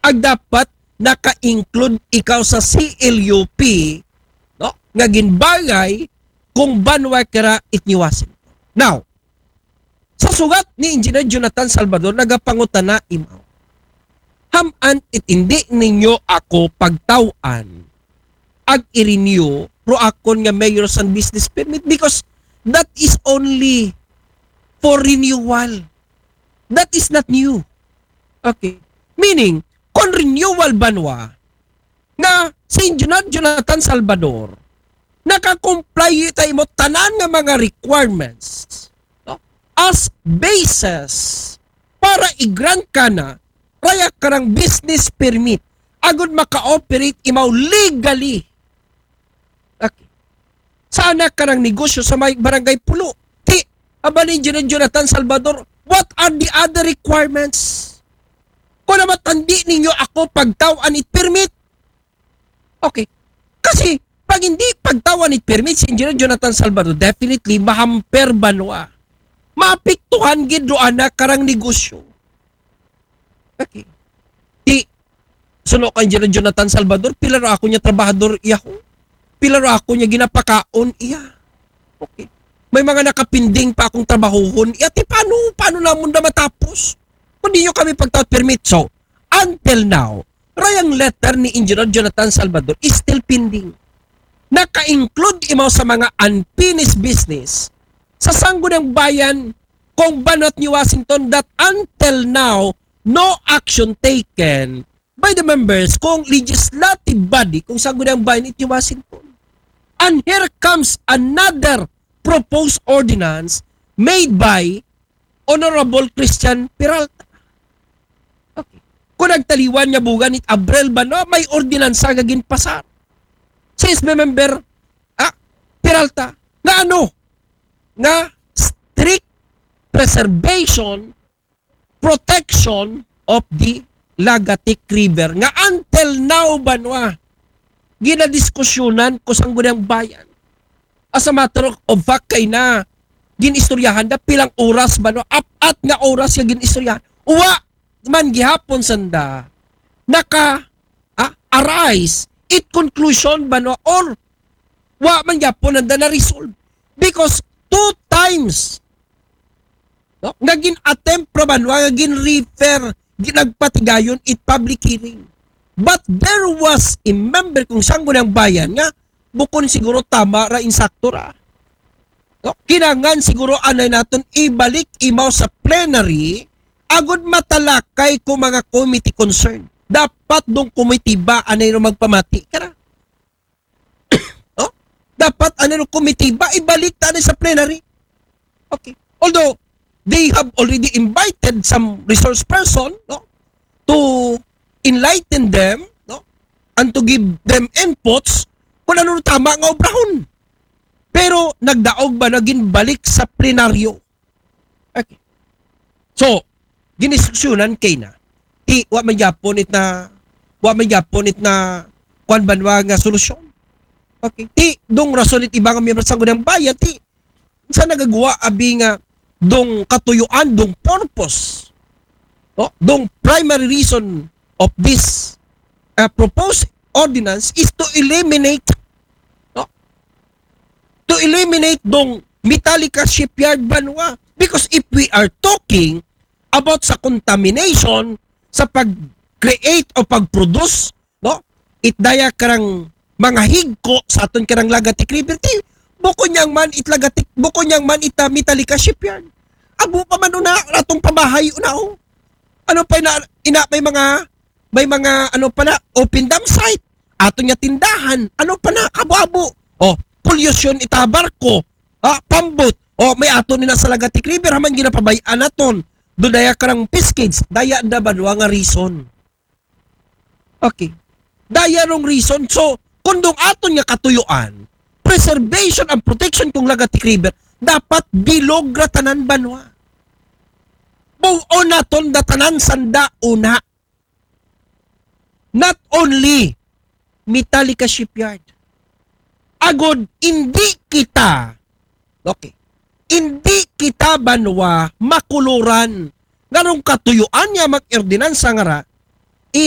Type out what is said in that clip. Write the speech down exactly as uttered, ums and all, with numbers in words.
Ag dapat naka-include ikaw sa C L U P, no? Nga ginbagay kung banwa kara it New Washington. Now, sa sugat ni Engineer Jonathan Salvador, nagapangutana imaw. Haman it indi ninyo ako pagtaw-an ag i-renew ro akon nga mayor's and business permit because that is only for renewal. That is not new. Okay. Meaning, kung renewal banwa, nga si Engineer Jonathan Salvador, naka-comply ta imo tanan nga mga requirements, no? As basis para i-grant kana, raya karang business permit, agud maka-operate imaw legally. Okay. Sa anak karang negosyo sa may barangay Pulo. Ti, aba ni Engineer Jonathan Salvador, what are the other requirements? Kung naman tandi ninyo ako pagtaw-an it permit. Okay. Kasi, pag hindi pagtaw-an it permit si Engineer Jonathan Salvador, definitely, mahamper banwa. Maapektuhan gid ro anak karang negosyo. Okay. Ti, suno kang Engineer Jonathan Salvador, pila ro ako niya trabahador iya ho? Pila ro ako niya ginapakaon iya? Okay. May mga nakapinding pa akong trabahuhon. Iya, ti paano, paano namon na matapos? Kung di nyo kami pagtaw-an permit. So, until now, rayang letter ni Engineer Jonathan Salvador is still pending. Naka-include imaw sa mga unfinished business sa Sangguniang Bayan kung banwa it New Washington that until now, no action taken by the members kung legislative body kung Sangguniang Bayan it New Washington. And here comes another proposed ordinance made by Honorable Christian Peralta. Okay. Kung nagtaliwan niya bugan it Abril ba, no? May ordinansa nga ginpasar. Si S B member, ah, Peralta, nga ano? Nga strict preservation, protection of the Lagatik River. Nga until now, banwa, ginadiskusyonan ko Sangguniang Bayan. As a matter of fact, kay na, ginistoryahan na pilang oras ba, no? Apat nga oras nga ginistoryahan. Wa man gihapon sanda naka, ah, arise it conclusion ba, no? Or wa man gihapon nanda na-resolve. Because two times, no, nga gin-attempt ra ba, no, nga gin-refer, ginagpatigayon it public hearing. But there was a member kung Sangguniang Bayan nga bukon siguro tama ra, insakto ra. No? Kinangan siguro anay naton ibalik imaw sa plenary agud matalakay ko mga committee concern. Dapat dong komitiba anay ro magpamati kara. No? Dapat anay ro komitiba ibalik ta anay sa plenary. Okay. Although they have already invited some resource person, no, to enlighten them, no, and to give them inputs kung ano tama nga obrahon. Pero nagdaog ba na ginbalik sa plenaryo? Okay. So, giniskusyonan kay na. Ti, wa man gyapon it na, wa man gyapon it na, kuwan ba nga solusyon? Okay. Ti, dong rason it iba nga miyembro sa Sangguniang Bayan, ti, sa nagagawa abi nga dong katuyuan, dong purpose, no? Dong primary reason of this, uh, proposed ordinance is to eliminate, no? To eliminate dong Metallica Shipyard banwa. Because if we are talking about sa contamination, sa pag-create o pag-produce, no? It daya karang mga higko sa aton karang Lagatik River, ti, bukon niyang man it Lagatik, bukon niyang man ita Metallica Shipyard. Abo pa man una, atong pabahay una, oh. Ano pa ina, ina may mga, may mga, ano pa na, open dump site. Ato niya tindahan. Ano pa na, abo-abo. Oh, pollution ita barko. Ah, pambot. Oh, may ato nila sa Lagatik River, haman ginapabay-an naton. Do daya karang piscage, daya da ba nga reason? Okay. Daya rong reason. So, kung dong aton nga katuyuan, preservation and protection kung Lagatik River, dapat bilog ra tanan banwa. Bug-on naton da tanan sanda una. Not only Metallica Shipyard. Agod, hindi kita, okay, hindi kita banwa makuluran ngarong katuyuan niya mag-ordinansa nga ra,